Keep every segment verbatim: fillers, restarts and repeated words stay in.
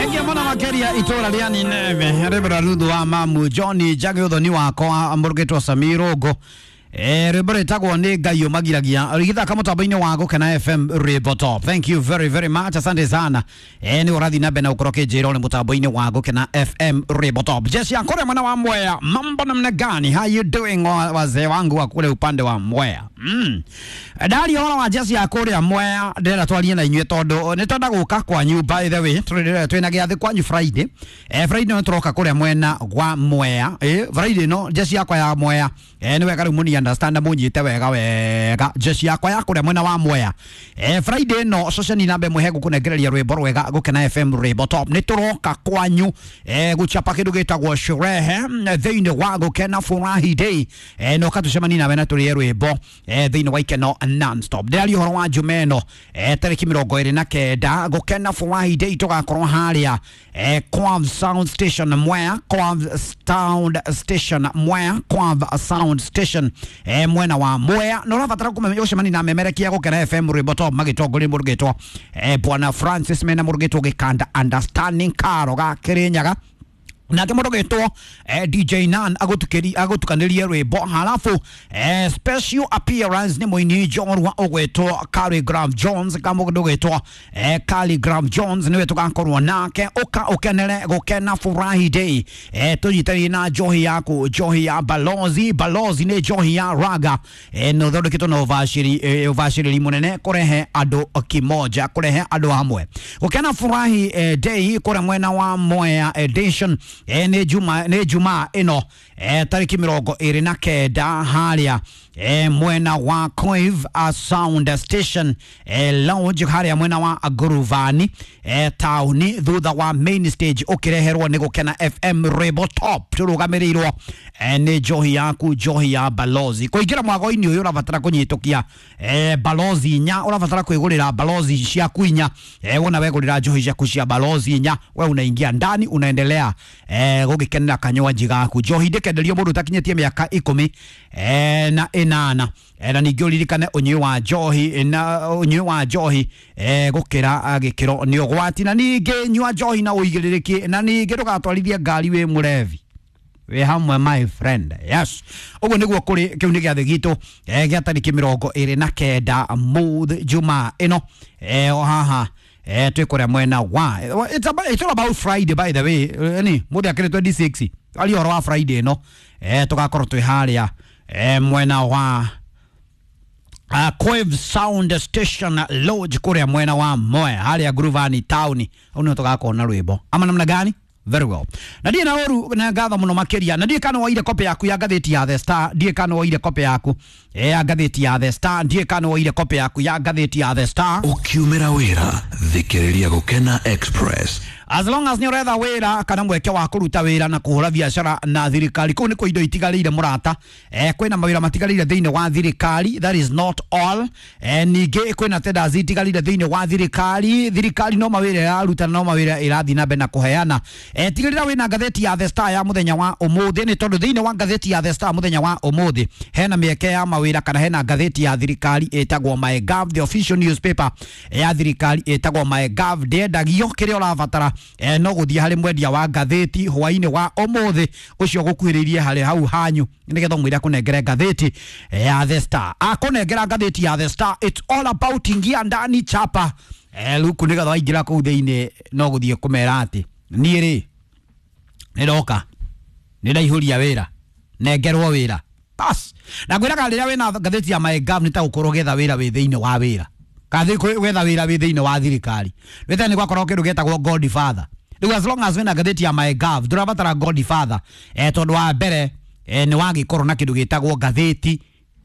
Thengia mũno makĩria itũra rĩa Nineve rĩbra ruthu wa mamu Johnny Njagi ũthoni wakwa mũrũgĩtwo Samiro Eh, rwĩmbo rwĩtagwo nĩ Ngai ũmagiragia rĩgĩthaka mũtambo-inĩ wa Gũkena F M Rwĩmbo Top. Thank you very very much, asante sana. Eh, nĩ ũrathiĩ na mbere na gũkorwo ũkĩnjĩra ũrĩ mũtambo-inĩ wa Gũkena F M Rwĩmbo Top. Jeshi ya kũrĩa mwena wa Mwea, mambo namna gani? How you doing wazee wangu wa kule upande wa Mwea? Mm. Ndari ũhoro wa jeshi ya kũrĩa Mwea ndĩrenda twarie na inyuĩ tondũ nĩ twenda gũka kwanyu, by the way twĩna gĩathĩ kwanyu Friday. Eh, Friday no tũroka kũrĩa mwena wa Mwea. Eh, Friday no jeshi yakwa ya Mwea. Eh, nĩ wega rĩu mũni understand munyite wega wega jeshi yakwa ya kuria mwena wa Mwea. Eh, Friday no social namba ĩmwe hegũkũnengereria rwĩmbo rwega Gũkena F M Rwĩmbo Top. Nĩ tũroka kwanyu eh gũchapa kĩndũ gĩtagwo sherehe thĩinĩ wa Gũkena Furahi Day. Eh, no katucemani nawe na tũrĩe rwĩmbo eh thĩinĩ wa ikeno non-stop. Ndĩraria ũhoro wa Jumeno eh tarĩki mĩrongo ĩrĩ na kenda Gũkena Furahi Day tũgakorwo harĩa eh Kwav Sound Station Mwea, Kwav Sound Station Mwea, Kwav Sound Station eh mwena wa Mwea. No rabatara kumenya ucemani na memerekia Gũkena F M Rwĩmbo Top magĩtongoria mũrũgĩtwo eh bwana Francis mena mũrũgĩtwo Gĩkanda Understanding Karo ga Kĩrĩnyaga nake mũrũgĩtwo eh, D J Nan agutukeri agutukanirie rwĩmbo halafu eh, special appearance nĩ mũini njorua ũgwĩtwo Khaligraph Jones ka mũndũ ũgwĩtwo eh, Khaligraph Jones nĩwe tũgakorwo nake ũka ũkenere Gũkena Furahi Day. eh, tũnyitanĩire na njohi yaku, njohi ya Balozi. Balozi nĩ njohi ya raga eh, na ũthondeketwo na ũbacĩri eh, ũbacĩrĩri mũnene kũrehe andũ kimoja, kũrehe andũ hamwe. Gũkena Furahi eh, Day kũrĩa mwena wa Mwea edition eh, nĩ juma nĩ juma ĩno eh, tarĩki mĩrongo ĩrĩ na kenda harĩa eh, mwena wa Coive a Sound Station eh, lounge harĩa mwena wa Nguruvani eh, taũni thutha wa main stage ũkĩreherwo nĩ Gũkena F M Rwĩmbo Top tũrũgamĩrĩirwo eh, nĩ njohi yaku, njohi ya Balozi. Kũingĩra mwago-inĩ ũyũ ũrabatara kũnyitũkia eh, Balozi inya, ũrabatara kwĩgũrĩra Balozi ciaku inya. eh, wona wegũrĩra njohi ciaku cia Balozi inya, we unaingia ndani unaendelea eh, gũgĩkenera kanywanji gaku. Njohi ndĩkenderio mũndũ ũtakinyĩtie mĩaka ikũmi eh, na ĩnana. Eh, na ningĩ ũririkane ũnyui wa njohi na ũnyui wa njohi eh, gũkĩra gĩkĩro nĩ ũgwati, na ningĩ nyua njohi na ũigĩrĩrĩki, na ningĩ ndũgatwarithie ngari wĩ mũrevi wĩ hamwe my friend. Yes, ũguo nĩguo kũrĩ. Kĩu nĩ gĩathĩ gitũ eh, gĩa tarĩki mĩrongo ĩrĩ na kenda mũthĩ Jumaa ĩno eh, o haha eh, twĩ kũrĩa mwena wa it's about, it's all about Friday by the way. Ni mũthĩ akĩrĩ twenty-six ari ũhoro wa Friday ĩno eh, tũgakorwo twĩ harĩa eh, mwena wa Uh, Coive Sound Station Lodge kũrĩa mwena wa Mwea harĩa Nguruvani town. Hau nĩho tũgakorwo na rwĩmbo ama namna gani? Very well. Na ndiĩ na ũru na ngatho mũno makĩria. Na ndiĩ kana woire copy yaku ya ngathĩti ya The Star, ndiĩ kana woire copy yaku ya ngathĩti ya The Star, ndiĩ kana woire copy yaku ya ngathĩti ya The Star. Ũkiumĩra wĩra thikĩrĩria Gũkena Express. As long as nĩ ũretha wĩra kana mweke wa kũruta wĩra na kũhũra biacara na thirikari, kũu nĩ kwĩ indo itigarĩire mũrata. Eh, kwĩna mawĩra matigarĩire thĩinĩ wa thirikari, that is not all. Eh, ningĩ kwĩna tenders itigarĩire thĩinĩ wa thirikari, thirikari no mawĩra ĩraruta no mawĩra ĩrathiĩ na mbere na kũheana. Eh, tigĩrĩra wĩna ngathĩti ya The Star ya mũthenya wa ũmũthĩ, nĩ tondũ thĩinĩ wa ngathĩti ya The Star mũthenya wa ũmũthĩ hena mĩeke ya mawĩra kana hena ngathĩti ya thirikari ĩtagwo MyGov, the official newspaper ya thirikari ĩtagwo MyGov. Ndĩendagio kĩrĩa ũrabatara eh, no gũthiĩ harĩ mwendia wa ngathĩti hwainĩ wa ũmũthĩ ũcio gũkuhĩrĩirie harĩ hau hanyu nĩgetha ũmwĩre akũnengere ngathĩti ya The Star. Akũnengera ngathĩti ya The Star, it's all about ingia ndani chapa eh, luku nĩgetha waingĩra kũu thĩinĩ no gũthiĩ kũmera atĩ niĩ rĩ nĩndoka nĩndaihũria wĩra nengerwo wĩra bas. Na ngwĩraga rĩrĩa wĩna ngathĩti ya MyGov nĩ ta gũkorwo ũgĩetha wĩra wĩ thĩinĩ wa wĩra kana gwetha wĩra wĩ thĩinĩ wa thirikari. Wĩtene gwakorwo kĩndũ gĩtagwo Godfather. Rĩu as long as wĩna ngathĩti ya MyGov ndũrabatara Godfather eh, tondũ wa mbere eh, nĩ wagĩkorwo na kĩndũ gĩtagwo ngathĩti,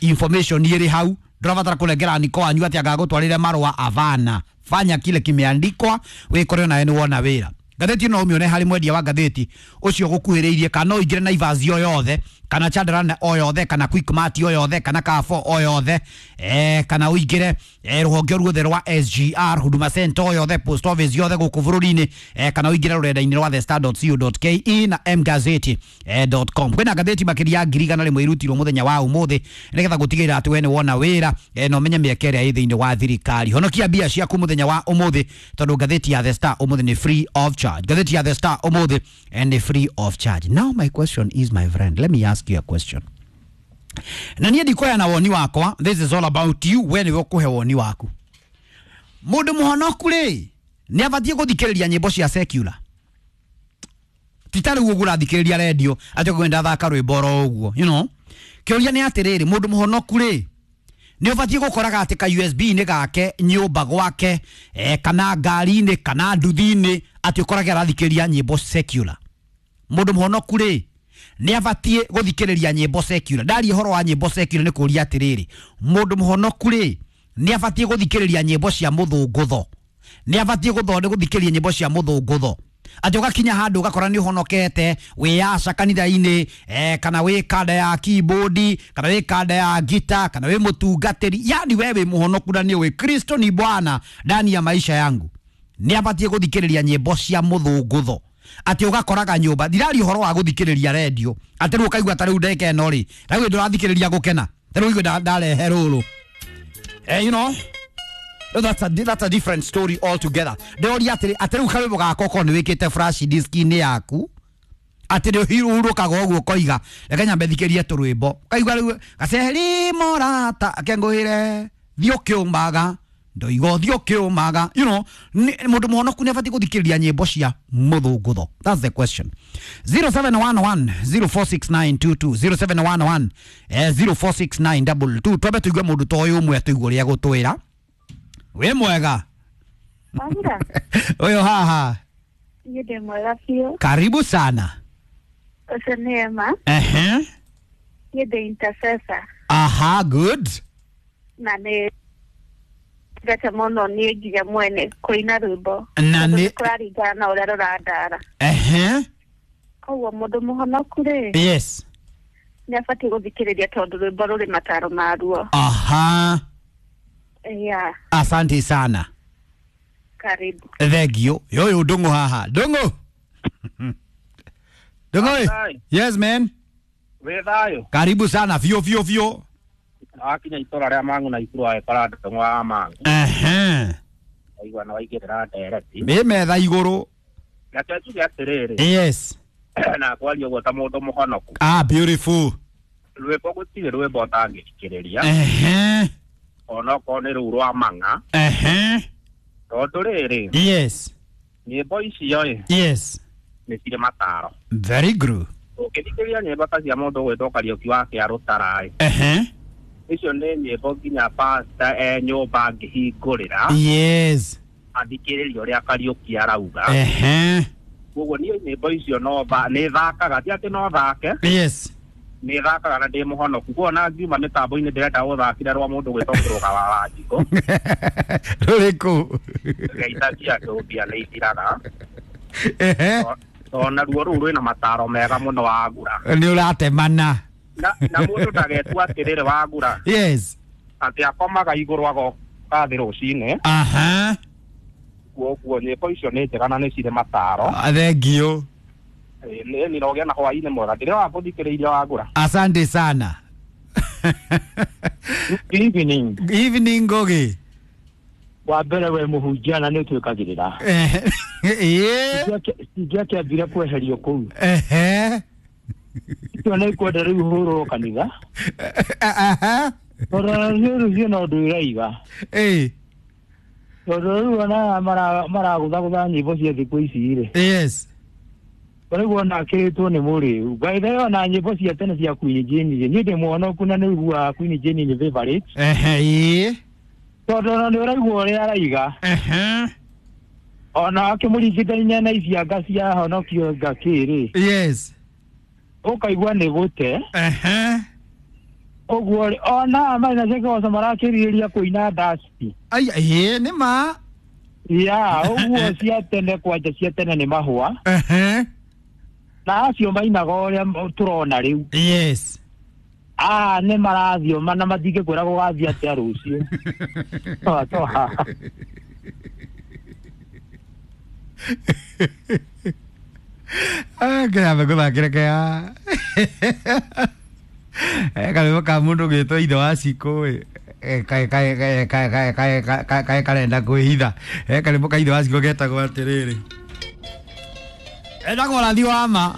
information ĩrĩ hau, ndũrabatara kũnengera niko wanyu atĩ angagũtwarĩre marũa. Avana, fanya kile kimeandikwa wĩkore nawe nĩ wona wĩra. Ngathĩti no ũmĩone harĩ mwendia wa ngathĩti ũcio gũkuhĩrĩirie kana no ũingĩre Naivas yo yothe kana Chandarana o yothe kana Quickmart o yothe kana Carrefour o yothe eh, kana ũingĩre eh, rũhonge ruothe rwa S G R Huduma Center o yothe post office yothe gũkũ bũrũri-inĩ eh, kana ũingĩre rũrenda-inĩ rwa the star dot co dot ke na mgazeti eh, dot com. Kwĩna ngathĩti makĩria ya ngiri igana rĩmwe irutirwo mũthenya wa ũmũthĩ nĩgetha gũtigĩrĩra atĩ we nĩ wona wĩra eh, na ũmenye mĩeke ĩrĩa ĩ thĩinĩ wa thirikari. Honokia mbia ciaku mũthenya wa ũmũthĩ tondũ ngathĩti ya The Star ũmũthĩ nĩ free of charge. Ngathĩti ya The Star ũmũthĩ eh, nĩ free of charge. Now my question is, my friend, let me ask you a question. Na niĩ ndikuoya na woni wakwa, this is all about you, we nĩwe ũkũhe woni waku. Mũndũ mũhonoku rĩ nĩ abatiĩ gũthikĩrĩria nyĩmbo cia secular? Ti ta rĩu ũguo ũrathikĩrĩria redio atĩ ũkwenda thaka rwĩmbo oro ũguo, you know. Kĩũria nĩ atĩrĩrĩ, mũndũ mũhonoku rĩ nĩ ũbatiĩ gũkoraga atĩ ka U S B-inĩ gake nyũmba gwake eh, kana ngari-inĩ kana nduthi-inĩ atĩ ũkorage arathikĩrĩria nyĩmbo secular? Mũndũ mũhonoku rĩ nĩ abatiĩ gũthikĩrĩria nyĩmbo secular? Ndaria ũhoro wa nyĩmbo secular nĩ kũria atĩrĩrĩ, mũndũ mũhonoku rĩ nĩ abatiĩ gũthikĩrĩria nyĩmbo cia mũthũngũtho? Nĩ abatiĩ gũthonde gũthikĩrĩria nyĩmbo cia mũthũngũtho atĩ ũgakinya handũ ũgakora nĩ ũhonokete wĩ aca kanitha-inĩ eh, kana wĩ kanda ya keyboard kana wĩ kanda ya gita kana wĩ mũtungatĩri, yani we wĩ mũhonoku na nĩ ũĩ Kristo ni Bwana ndani ya maisha yangu, nĩ abatiĩ gũthikĩrĩria nyĩmbo cia mũthũngũtho atĩ ũgakoraga nyũmba? Ndiraria ũhoro wa gũthikĩrĩria redio atĩ rĩu ũkaigua ta rĩu ndeka ĩno rĩ, rĩu ndũrathikĩrĩria gũkena, ta rĩu igua ndarehe rũrũ eh, you know. No, that's a, that's a different story altogether. Ndĩroria atĩrĩ, atĩ rĩu karwĩmbo gaka okorwo nĩ wĩkĩte flash disk-inĩ yaku atĩ nĩ ũhurũkaga ũguo ũkoiga reke nyambe thikĩrie tũrwĩmbo, ũkaigua rĩu gaceri morata akengũhĩre thiĩ ũkĩũmaga ndoiga ũthiĩ ũkĩũmaga, you know. Mũndũ mũhonoku nĩ abatiĩ gũthikĩrĩria nyĩmbo cia mũthũngũtho? That's the question. zero seven one one zero four six nine two two zero seven one one zero four six nine two two. Twambe tũigue mũndũ ta ũyũ ũmwe tũigue ũrĩa egũtwĩra. Wĩ mwega? Wanga. Ũyũ haha. Niĩ ndĩ mwega biũ. Karibu sana. Ũcio nĩ Emma. Ehe. Niĩ ndĩ intercessor. Aha, good. Na nĩ ndete mũno niĩ nginya mwene kũina rwĩmbo. Na nĩ kũraringana na ũrĩa rũrandara. Ehe. Koguo mũndũ mũhonoku rĩ, yes, nĩ abatiĩ gũthikĩrĩria tondũ rwĩmbo rũrĩ mataro maruo. Aha. Yeah. Asante sana. Karibu. Thank you. Yoyo ndungu haha. Ndungu. Ndungu. Yes man. Wĩ thayũ. Karibu sana fio fio fio. Akinya itora rĩa mangu na ikuru wa ekora ndungu wa mangu. Ehe. Aigua na waigĩrĩra ndereti. Mĩ metha igũrũ. Reke njuge atĩrĩrĩ. Yes. Na kwaria ũguo ta mũndũ mũhonoku. Ah, beautiful. Rwĩmbo gũtirĩ rwĩmbo ũtangĩthikĩrĩria. Ehe. Onokorwo nĩ rũu rwa mang'a. Ehe. Tondũ rĩrĩ. Yes. Nyĩmbo icio ĩ. Yes. Nĩ cirĩ mataro. Very good. Ũngĩthikĩrĩria nyĩmbo ta cia mũndũ ũgwĩtwo Kariũki wa Kĩarũtara ĩ. Ehe. Icio nĩ nyĩmbo nginya pastor e nyũmba angĩhingũrĩra. Yes. Athikĩrĩrie ũrĩa Kariũki arauga. Ehe. Koguo niĩ nyĩmbo icio no nĩ thakaga, ti atĩ no thake. Yes. Nĩ thakaga na ndĩ mũhonoku. Koguo ona ngiuma mĩtambo-inĩ ndĩrenda gũthakĩra rwa mũndũ gwĩtwo Kĩrũga wa Wanjikũ. Rũrĩkũ? Ngeithagia andũ mbia nĩ ithiraga. Ehe. Ona ruo rũu rwĩna mataro mega mũno wagura. Nĩ ũratemana. Na na mũndũ ndagetua atĩrĩrĩ wagura. Yes. Atĩ akomaga igũrũ agoka thĩ rũcinĩ. Aha. Koguo nyĩmbo icio nĩ njega na nĩ cirĩ mataro. Thank you. Nĩ nĩrogĩa na hwaĩ-inĩ mwega. Ndĩrĩ wa wagura. Asante sana. Evening. Evening Ngogi. Wa mbere we mũhunjia na nĩ ũtwĩkagĩrĩra. Ĩĩ. Ingĩakĩambire kweherio kũu. Ehe. Icio nĩ ikwenda rĩu hũrwo kanitha. Aha. Tondũ niĩ rũciũ no ũndũ ĩraiga. Ĩĩ. Tondũ rĩu ona maragũthagũtha nyĩmbo cia thikũ ici rĩ. Yes. Rĩu ona akĩrĩtwo nĩ mũrĩu. By the way ona nyĩmbo cia tene cia Queen Jane niĩ ndĩ mũhonoku na nĩ iguaga Queen Jane nĩ favorite. Ehe. Ĩĩ. Tondũ ona nĩ ũraigua ũrĩa araiga. Ehe. Ona akĩmũringithania na icianga cia honokio ngakĩ rĩ. Yes. Ũkaigua nĩ gũte. Ehe. Ũguo ona marĩ na ciakoca marakĩrĩrĩria kũina dasti. Ai ĩĩ nĩ ma. Ya ũguo cia tene kwanja cia tene nĩ mahũa. Ehe. Na acio mainaga ũrĩa tũrona rĩu. Yes. Ah, nĩ marathioma na matingĩkwĩra gũgathiĩ atĩa rũciũ. Toa, toa. Ah, kĩrambe gũthakĩra kea karwĩmbo ka mũndũ ũgĩtwo ithe wa cikũ ĩ kaĩ kaĩ kaĩ kaĩ kaĩ kaĩ kaĩ kaĩ karenda kwĩhitha. Karwĩmbo ka ithe wa cikũ getagwo atĩrĩrĩ, etagwo ũrathi wa ma.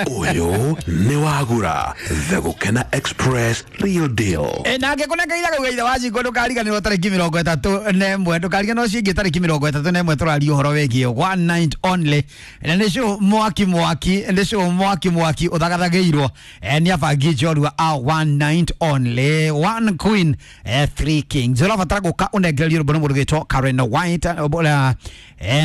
Ũyũ nĩ wagura The Gũkena Express Real Deal. Na ngĩkũnengeria kau ithe wa cikũ, ndũkariganĩrwo tarĩki mĩrongo ĩtatũ na ĩmwe, ndũkariganĩrwo ciĩngĩ tarĩki mĩrongo ĩtatũ na ĩmwe tũraria ũhoro wĩgiĩ one night only, na nĩ show mwaki mwaki, nĩ show mwaki mwaki ũthagathagĩirwo nĩ abangi njorua a one night only, one queen, three kings. Ũrabatara gũka ũnengererio rwĩmbo nĩ mũndũ ũgĩtwo Karen White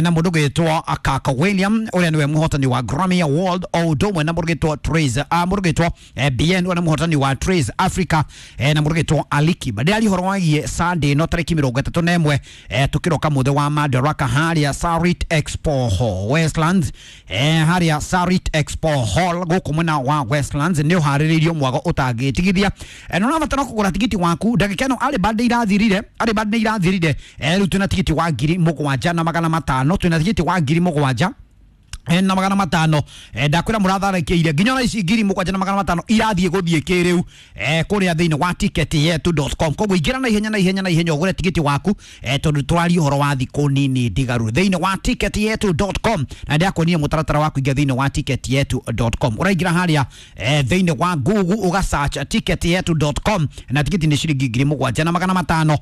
na mũndũ ũgĩtwo Kaka William ũrĩa nĩwe mũhotani wa Grammy Award, o ũndũ ũmwe na mũndũ ũgĩtwo Trace, mũndũ ũgĩtwo B N ũrĩa nĩ mũhotani wa Trace Africa, na mũndũ ũgĩtwo Alikiba. Ndĩraria ũhoro wĩgiĩ Sunday no tarĩki mĩrongo ĩtatũ na ĩmwe tũkĩroka mũthĩ wa Madaraka harĩa Sarit Expo Hall Westlands, harĩa Sarit Expo Hall gũkũ mwena wa Westlands nĩ ũharĩrĩirio mwago ũtangĩtigithia. Na ũrabatara kũgũra tigiti waku ndagĩka ĩno, arĩ band irathirire, arĩ band nĩ irathirire. Rĩu twĩna tigiti wa ngiri mũgwanja na magana matano, twĩna tigiti wa ngiri mũgwanja na magana matano. Ndakwĩra mũratharĩkĩire nginya ona ici ngiri mũgwanja na magana matano irathiĩ gũthiĩ kĩrĩu kũrĩa thĩinĩ wa ticket yetu dot com. Koguo ingĩra na ihenya na ihenya na ihenya ũgũre tigiti waku, tondũ tũraria ũhoro wa thikũ nini ndigaru thĩinĩ wa ticket yetu dot com. Na ndĩrakuonia mũtaratara wa kũingĩra thĩinĩ wa ticket yetu dot com. Ũraingĩra harĩa thĩinĩ wa Google ũga search ticket yetu dot com, na tigiti nĩ ciringi ngiri mũgwanja na magana matano.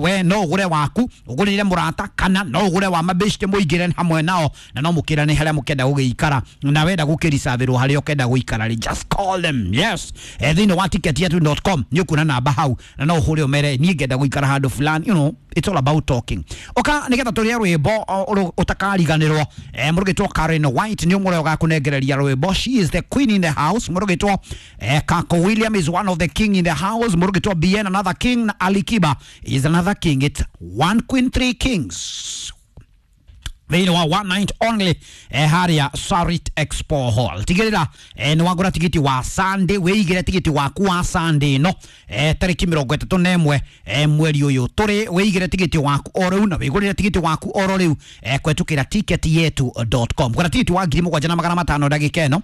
We no ũgũre waku, ũgũrĩre mũrata, kana no ũgũre wa mabeshte mũingĩre hamwe nao, na no mũkĩrane harĩa mũkenda gũgĩikara, na wenda gũkĩricabĩrwo harĩa ũkenda gũikara rĩ, just call them. Yes, thĩinĩ wa ticket yetu dot com nĩ ũkuona namba hau, na no ũhũre ũmere niĩ ngenda gũikara handũ fulani. You know, it's all about talking. Oka nĩgetha tũrĩe rwĩmbo ũtakariganĩrwo. Mũndũ ũgĩtwo Karen White nĩ ũmwe ũgakũnengereria rwĩmbo. She is the queen in the house. Mũndũ ũgĩtwo Kako William is one of the king in the house. Mũndũ ũgĩtwo B N another king, na Alikiba is another king. It's one queen, three kings thĩinĩ wa one night only harĩa Sarit Expo Hall. Tigĩrĩra nĩ wagũra tigiti wa Sunday, wĩigĩre tigiti waku wa Sunday no tarĩki mĩrongo ĩtatũ na ĩmwe mweri ũyũ tũrĩ. Wĩigĩre tigiti waku o rĩu na wĩgũrĩre tigiti waku oro rĩu kũhetũkĩra ticket yetu dot com. Gũra tigiti wa ngiri mũgwanja na magana matano ndagĩka ĩno,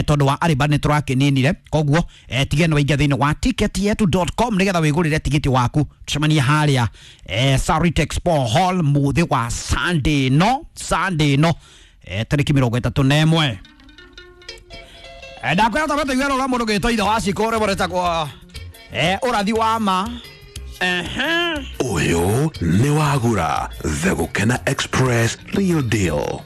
tondũ wa arĩba nĩ tũrakĩninire. Koguo tigĩrĩra nĩ waingĩra thĩinĩ wa ticket yetu dot com nĩgetha wĩgũrĩre tigiti waku. Tũcemanie harĩa Sarit Expo Hall mũthĩ wa Sunday no Sunday no tarĩki mĩrongo ĩtatũ na ĩmwe. Ndakwĩra twambe tũigue rũra mũndũ ũgĩtwo ithe wa cikũ rwĩmbo rwĩtagwo ũrathi wa ma. Ũyũ nĩ wagura The Gũkena Express Real Deal.